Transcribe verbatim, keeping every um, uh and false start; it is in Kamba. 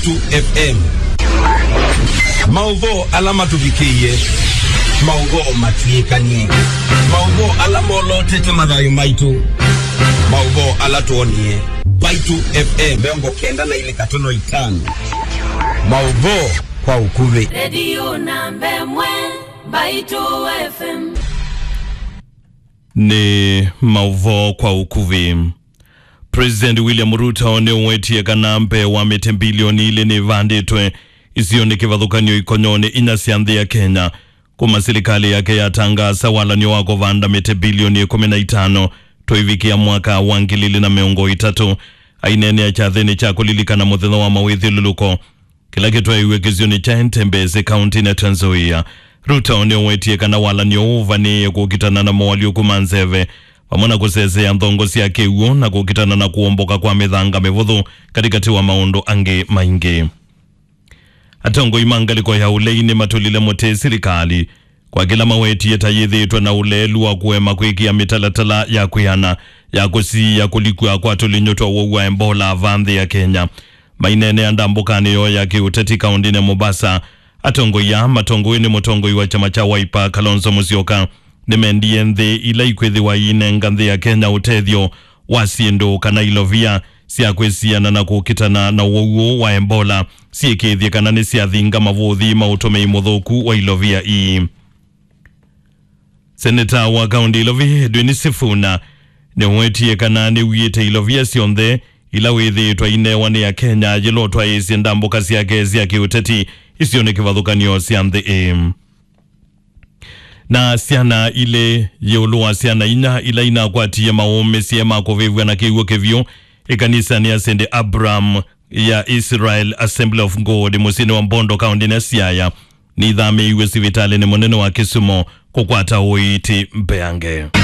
Mbaitu F M. Maũvoo ala matũvikĩie, maũvoo matw'ĩkanie, maũvoo ala molotete mathayũ maitũ, maũvoo ala twonie. Mbaitu F M mĩongo kenda na ilĩ katono itano. Maũvoo kwa ũkuvĩ. Redio namba ĩmwe, Mbaitu F M. Nĩ maũvoo kwa ũkuvĩ. President William Ruto nĩũwetie kana mbee wa mĩtĩ mbilioni ilĩ nĩvandĩtwe isionĩ kĩvathũkany'o ikonyonĩ inya sya nthĩ ya Kenya, kuma silikalĩ yake yatangaasa walan'yo wa kũvanda mĩtĩ mbilioni ĩkũmi na itano tũivikĩa mwaka wa ngili ilĩ na mĩongo ĩtatũ. Aineenea kyathĩnĩ kya kũlilikana mũthenya wa mawĩthyũlũlũko kĩla kĩtwaĩwe kĩsionĩ kya Entebbe, kauntinĩ ya Trans Nzoia. Ruto nĩũwetie kana walan'yo ũũ ũvanĩĩe kũkitana na moalyũku ma nzeve, vamwe na kũsesea nthongo sya kĩw'ũ na kũkitana na kũomboka kwa mĩthanga mĩvũthũ, katĩkatĩ wa maũndũ angĩ maingĩ. Atongoi ma ngalĩko ya ũlei nĩmatũlile mũtĩ silikalĩ kwa kĩla mawetie ta yĩthĩĩtwe na ũleelu wa kũema kwĩkĩa mĩtalatala ya kwĩana ya kũsiĩĩa kũlikw'a kwa tũlinyũ twa ũwau wa Ebola vaa nthĩ ya Kenya. Maineenea ndambũkanĩ yoo ya kĩũteti kaũntĩnĩ ya Mombasa, atongoi aa matongoew'e nĩ mũtongoi wa kyama kya Wiper, Kalonzo Musyoka, nĩmendie nthĩ ila ikwĩthĩwa iinenga nthĩ ya Kenya ũtethyo wa syĩndũ kana ilovia sya kwĩsiana na kũkitana na ũwau ũũ wa Ebola syĩkĩĩthye kana nĩsyathinga mavũthi ma ũtũmĩi mũthũku wa ilovia ii. Seneta wa kaũntĩ Ilovi, Edwin Sifuna, nĩwetie kana nĩwiĩte ilovia syonthe ila wĩthĩĩtwe ainewa nĩ Akenya yĩla ũtwaĩĩsye ndambũka syake sya kĩũteti isionĩ kĩvathũkany'o sya nthĩ ĩĩ. Na syana ilĩ ĩũlũ wa syana inya ila inakwatie maũmĩsye ma kũvĩvw'a na kĩw'ũ kĩvyũ ĩkanisanĩ ya Saint Abraham ya Israel Assembly of God mũsyĩnĩ wa Bondo, kaũntĩnĩ ya Siaya, nĩithamĩĩiw'e sivitalĩnĩ mũnene wa Kisumu kũkwata ũiiti mbeange.